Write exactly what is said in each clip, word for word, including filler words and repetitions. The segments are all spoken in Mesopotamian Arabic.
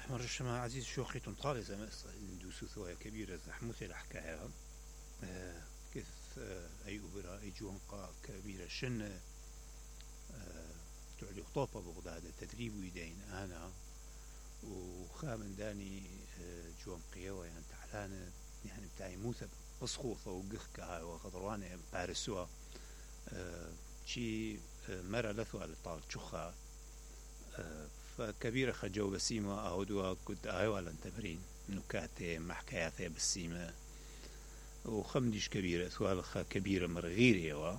مرش ما عزيز شوخي تنطالي زي ما ندوسو ثوية كبيرة زحموثي الحكاية أه كيف أه أي أوبرا أي جوانقا كبيرة شن أه تعلي خطوبة بغداد التدريب ويدين أنا وخامن داني أه جوانقية ويان تعلانة يعني بتاعي موثى بسخوثة وقخكة هاي وخضروانة بارسوا أه شي أه مرة لثوة لطال شخة أه فكبيرة خجو بسيمة أهدوا كنت أهوا لنتبرين نكاتي محكاياتي بالسيمة وخمديش كبيرة ثوالخة كبيرة مرغيرية و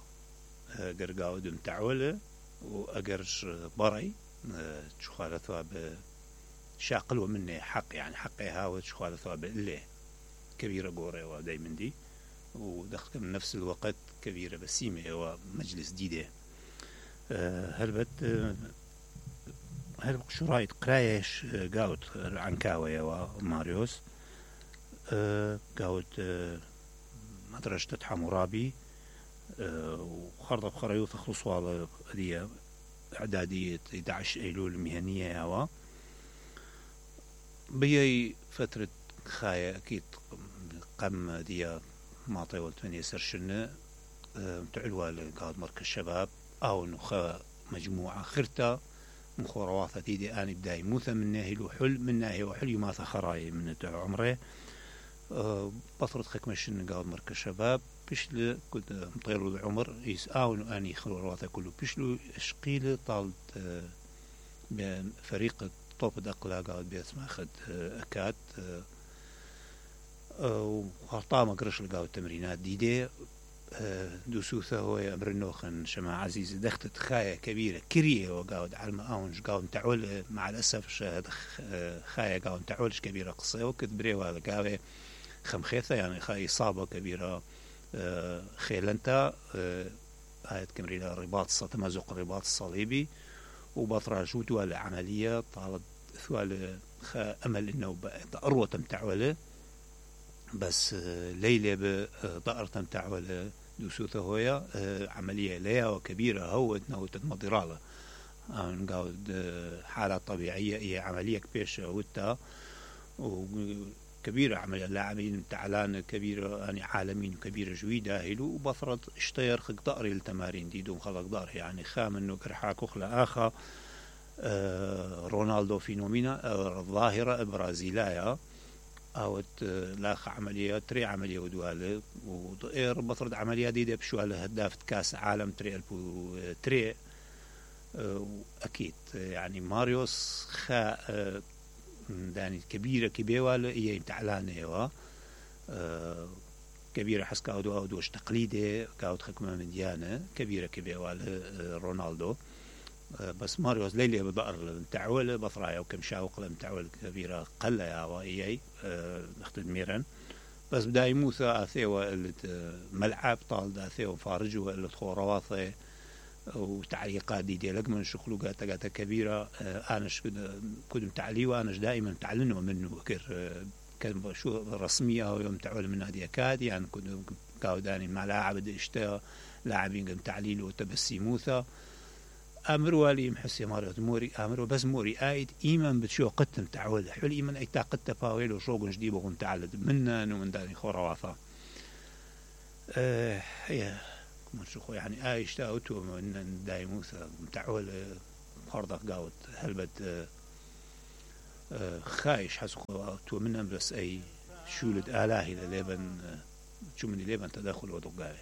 قرقاو دم تعولة وأقرش بري شخالتها بشاقلوا مني حق يعني حقي هاوت شخالتها بإليه كبيرة قورة ودايما دي ودخلت من نفس الوقت كبيرة بسيمة ومجلس ديدة هربت هل شرايط قرايش قاوت عنكاوية وماريوس قاوت مدرسة حمورابي وخرطة بخريوث خلصوا على دي إعدادية إحدى عشر أيلول مهنية هوا بيي فترة خاية أكيد قم دي معطي والتمنية سرشنة تعلوها لقاود مركز الشباب أو نخا مجموعة خرطة مخورواثة ديدي آني بداي موثى من ناهي وحل من ناهي وحل يماثى خراي من عمره أه بطرد خكمشن قاود مركز شباب بشل كنت مطيرو العمر يسآون آني خورواثة كله بشلو اشقيل طالت أه بفريق طوب دقلا قاود بيت ماخد أه أكاد أه وخرطامة قرش لقاود تمرينات ديدي دوسوثة هو أمر النوخن شما عزيز دختت خاية كبيرة كريه وقاود على المقاونج قاود تعول مع الأسف شاهد خاية قاود تعولش كبيرة قصة وكت بريوها لقاوة خمخيثة يعني خاية إصابة كبيرة خيلنتا هاي تكمري لها رباط تمازق الرباط الصليبي وبطرة شوتوا العملية طالت ثوال أمل إنه أروة تعوله بس ليلة بضأر تمتعوله دوسوثة هويا عملية ليا وكبيرة هو نوت المضرالة نقاود حالة طبيعية هي عملية كبيرة وتا وكبيرة عملية لاعبين تعلان كبيرة يعني عالمين وكبيرة جويدة هيلو وبفرض اشتير خق ضأري التمارين دي دوم خلق ضأر يعني خام انه كرحاك اخلا اخا رونالدو فينومينا الظاهرة برازيلايا أوت لاخ عملية تري عملية ودوالة وطير بطرد عملية دي بشوالة هدافة كاس عالم تري ألبو تري أكيد يعني ماريوس خا داني كبيرة كبيرة هي تعلانة و كبيرة حس كاودو أودوش تقليدي كاود خكمة من ديانة كبيرة كبيرة رونالدو بس ماريوس ليلي بضأر تعول بطرايا وكم شاوق لم تعول كبيرة قلة يا وإياي نختد ميران بس بدا يموثى أثيوة اللي ملعب طال دا أثيوة فارجوا اللي تخورواثي وتعليقات دي ديالك من شخلوقات تقاتا كبيرة أناش كنت متعلي وأناش دائما تعلنوا منه كر كان شو رسمية ويوم تعول من هذه أكاد يعني كنت كاوداني مع لاعب اشتاء لاعبين قم تعليل وتبسي موثى أمروا لي محسي ماريوت موري أمروا بس موري آيد إيمان بتشو قتم تعود حول إيمان أي تاقت باويل وشوق جديد وقم تعلد منا ومن داني خرواثا أه هي كمان شو يعني آيش تاوتو من دايموثا تعول خردق قاوت هلبت أه خايش حسقوا تو منا بس أي شولد آلاهي لليبن شو من ليبن تدخل ودقاوي